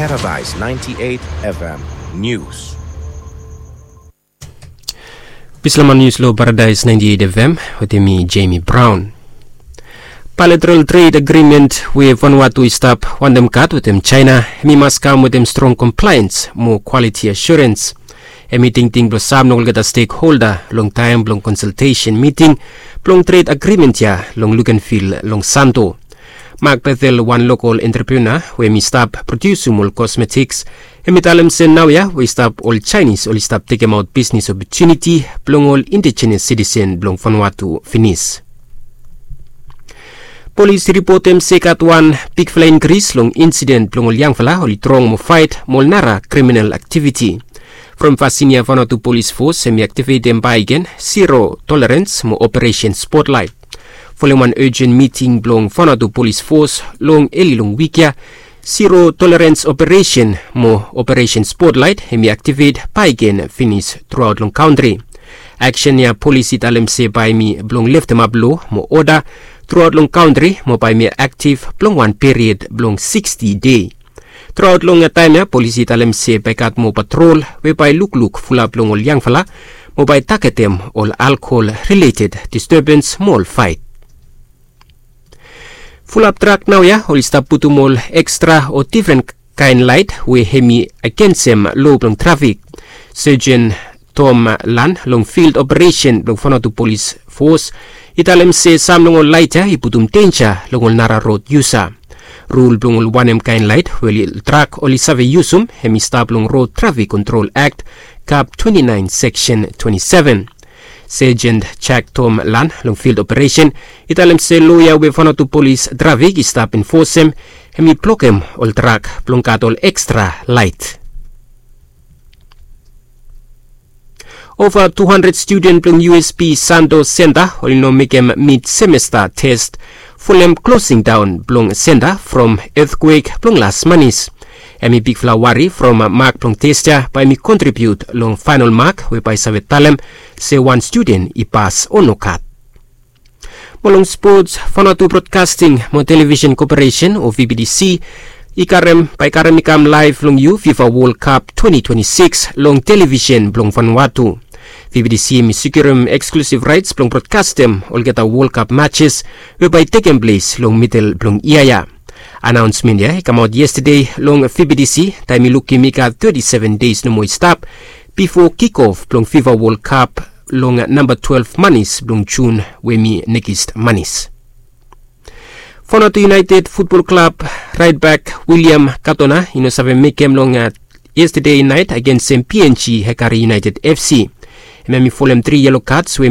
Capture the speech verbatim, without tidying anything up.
Paradise ninety-eight F M News. Bislama nius long Paradise ninety-eight F M wetem mi, Jamie Brown. Bilateral trade agreement we Vanuatu i stap wantem gat wetem China, hemi mas kam wetem strong compliance mo quality assurance. Hemi tingting blong sam long olgeta stakeholder long taem blong consultation meeting blong trade agreement ya long look and feel long Santo. Mark Bethel, wan local entrepreneur we hemi stap produsium ol cosmetics, hemi talem se naoia we i stap ol Chinese oli stap tekemaot bisnis opportunity blong ol indigenous citizen blong Vanuatu finis. Polis i ripotem se i gat wan bigfala inkris long insident blong ol yangfala oli trong mo faet mo ol nara kriminal aktiviti. From fasin ya Vanuatu Polis Fos hemi aktivetem bakegen zero tolerance mo Operation Spotlight. Folem wan urgent miting blong Vanuatu Polis Fos long eli long wik ya, zero tolerance operation mo Operation Spotlight hemi aktivet bakegen finis truaot long kantri. Aksen ya polis i talem se bae hemi blong leftemap lo mo oda truaot long kantri mo bae hemi aktiv blong wan period blong sixty dei. Truaot long taem ya polis i talem se bae i gat moa patrol we bae i lukluk fulap long ol yangfala mo bae i tagetem ol alkohol rileted disturbens mo ol faet. Fulap trak naoia oli stap putum ol ekstra o difren kaen laet we hemi agensem lo blong trafik. Sergeant Tom Lan long field operesen blong Vanuatu Polis Fos i talem se sam long ol laet ya i putum denja long ol nara rod yusa. Rul blong ol wanem kaen laet we ol trak oli save yusum hemi stap long Road Traffic Control Act, Cap twenty-nine, Section twenty-seven. Sergeant Jack Tom Lan long field operesen i talem se loa ya we Vanuatu Polis Trafik i stap enfosem hemi blokem ol trak blong gat ol ekstra laet. Ova tu handred studen blong U S P Santo Center oli no mekem mid semesta tes folem klosing daon blong senta from etkwek blong las manis. Hemi bigfala wari from mak blong tes ya bae hemi kontribiut long faenol mak we bae i save talem se wan studen i pas o nogat. Mo long spots, Vanuatu Broadcasting mo Television Corporation o V B T C i karem bae i karem i kam laev long yu FIFA World Cup twenty twenty-six long television blong Vanuatu. V B T C hemi sekiurem eksklusiv raets blong brodkastem olgeta World Cup matches we bae i tekem ples long midel blong yia ya. Anaonsmen ya i kamaot yestade long V B T C taem i lukim i gat thirty-seven deis nomo i stap bifo kikof blong FIFA World Cup long namba twelve manis blong Jun we hemi nekis manis. Vanuatu United Futbol Klab raetbek William Katona i no save mekem long yestade naet agensem P N G Hekari United F C. Hem hemi folem tri yelo kats we